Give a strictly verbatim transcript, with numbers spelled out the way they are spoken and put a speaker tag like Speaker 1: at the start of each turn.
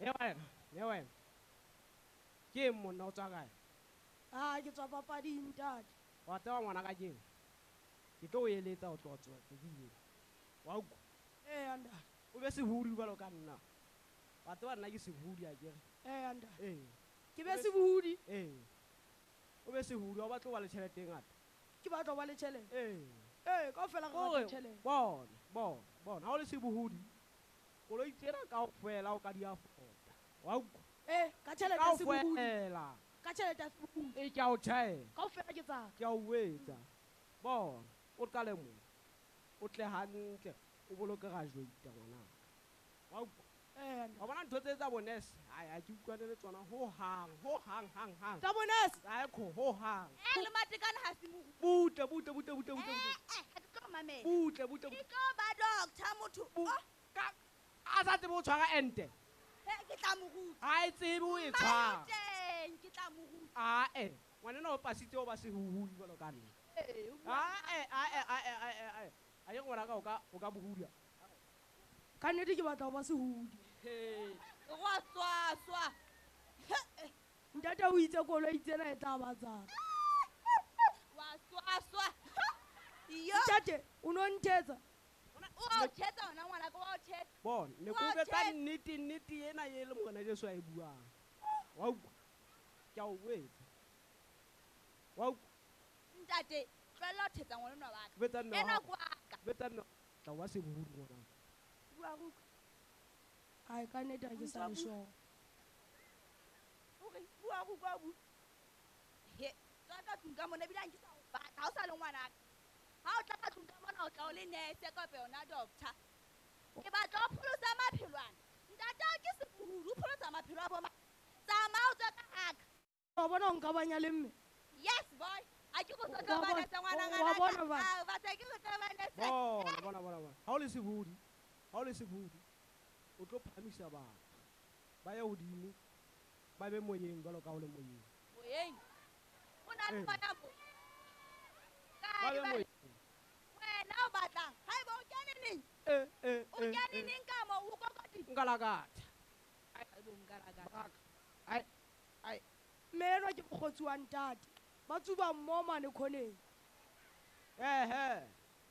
Speaker 1: E wena, e wena. Ke eng monna o tswa kae?
Speaker 2: Ah, ke tswa papading ntate.
Speaker 1: Wa tseba ngwana ka keng? Ke tlo o eletsa ho tloha tsoa tsatsi lena. Wa utlwa?
Speaker 2: Eya ntate.
Speaker 1: O be sehudi jwalo ka nna. Wa tseba nna ke sehudi akere?
Speaker 2: Eya ntate.
Speaker 1: Ee.
Speaker 2: Ke be sehudi?
Speaker 1: Ee. O be sehudi, ha o batle ho ba le tjhelete e ngata.
Speaker 2: Ke batla ho ba le tjhelete?
Speaker 1: Ee.
Speaker 2: Ee, kaofela re
Speaker 1: Hore,
Speaker 2: batla tjhelete.
Speaker 1: Bona, bona, bona, ha o le sebohodi, koloi tsena kaofela o ka di afford-a. Wa utlwa?
Speaker 2: Ee, ka tjhelete ya sebohodi.
Speaker 1: Kaofela.
Speaker 2: Ka tjhelete ya sebohodi.
Speaker 1: Ee, ke a o tjhaela.
Speaker 2: Kaofela ke tsaka.
Speaker 1: Ke a o etsa. Bona, o qale mona. O tle hantle, o boloke graduate ngwanaka. Wa utlwa?
Speaker 2: Ee, ntate.
Speaker 1: Wa bona ntho tse tsa bo nurse? Ai, ha ke utlwane le tsona ho hang, ho hang, hang, hang.
Speaker 2: Tsa bo nurse?
Speaker 1: Ai, kho, ho hang.
Speaker 3: Eh, le matekane ha se moruti.
Speaker 1: Butle, butle, butle, butle, butle, butle.
Speaker 3: Eh, eh, ha ke tlo mamela.
Speaker 1: Butle, butle,
Speaker 3: Ke
Speaker 1: butle.
Speaker 3: tlo ba doctor motho.
Speaker 1: Bu-
Speaker 3: Oh.
Speaker 1: Ka, a sa tsebe ho tshwara ente.
Speaker 3: He, ke tla mo ruta.
Speaker 1: Ha e tsebe ho e tshwara.
Speaker 3: Teng, ke tla mo ruta.
Speaker 1: Ah, eh, ngwanenwa o pasitse ho ba sehuhudi jwalo ka nna.
Speaker 3: Ee, o bua
Speaker 1: Ah, eh, ah, eh, ah, eh, ah, eh, ah, eh. A ke ngwanaka o ka, o ka bohudia.
Speaker 2: Ka nnete ke batla ho ba sehudi.
Speaker 3: He, wa swaswa.
Speaker 2: Ntate o itse koloi tsena e tla ba tsaka.
Speaker 3: Wa swaswa. Yo.
Speaker 2: Ntate, o no nthetsa?
Speaker 3: O o thetsa hona ngwanaka, wa o thetsa.
Speaker 1: Bona, ne
Speaker 3: Wa
Speaker 1: ke o
Speaker 3: o
Speaker 1: jwetsa
Speaker 3: thetsa.
Speaker 1: nnete, nnete ena e le Morena Jesu a e buang. Wa utlwa? Ke a o jwetsa. Wa utlwa?
Speaker 3: Ntate, tlohella ho thetsa ngwanenwa wa ka.
Speaker 1: Jwetsa mme wa
Speaker 3: Enwa
Speaker 1: hao.
Speaker 3: ke wa ka.
Speaker 1: Jwetsa mme wa tla wa sebohodi ngwanaka.
Speaker 3: Bua re utlwe.
Speaker 2: Ai, ka nnete ha ke sa le
Speaker 3: Ntwa bua.
Speaker 2: sure.
Speaker 3: O re, bua re utlwe, bua. He, tswa ka tlung ka mona, ebile ha nke sa o batla, ha o sa le ngwanaka. Ha o tla ka tlung ka mona, o tla o le nurse kapa yona doctor. Ke batla ho pholosa maphelo ana. Ntate wa ke sebohodi, o pholosa maphelo a bo mang? Tsamaya o tswe ka haka.
Speaker 2: Wa bona o nka banya le mme?
Speaker 3: Yes, boy. A ke go
Speaker 2: Wa
Speaker 3: tlo ba
Speaker 2: bona,
Speaker 3: nurse ngwana
Speaker 2: wa
Speaker 3: ngwana
Speaker 2: bona
Speaker 3: ka.
Speaker 2: ba.
Speaker 3: Ah, batla ke go tlo ba nurse.
Speaker 1: Bona, bona, bona, bona. Ha o le sebohodi, ha o le sebohodi, o tlo phahamisa batho. Ba ye hodimo, ba be moyeng jwalo ka ha o le moyeng.
Speaker 3: Moyeng? O na le
Speaker 1: Ee.
Speaker 3: moya mo?
Speaker 1: Ba
Speaker 3: Kae
Speaker 1: be
Speaker 3: ba
Speaker 1: moyeng.
Speaker 3: Wena o batlang? Haeba o kene neng?
Speaker 1: Eh, eh,
Speaker 3: O
Speaker 1: eh,
Speaker 3: kene
Speaker 1: eh.
Speaker 3: neng ka mo? O kokotile?
Speaker 1: Nka lakatha.
Speaker 3: Haeba o nka lakatha.
Speaker 1: Baraka. Ai, ai.
Speaker 2: Mme enwa ke mokgotsi wa ntate. Ba tsuba mmoho mane khoneng.
Speaker 1: Ehe.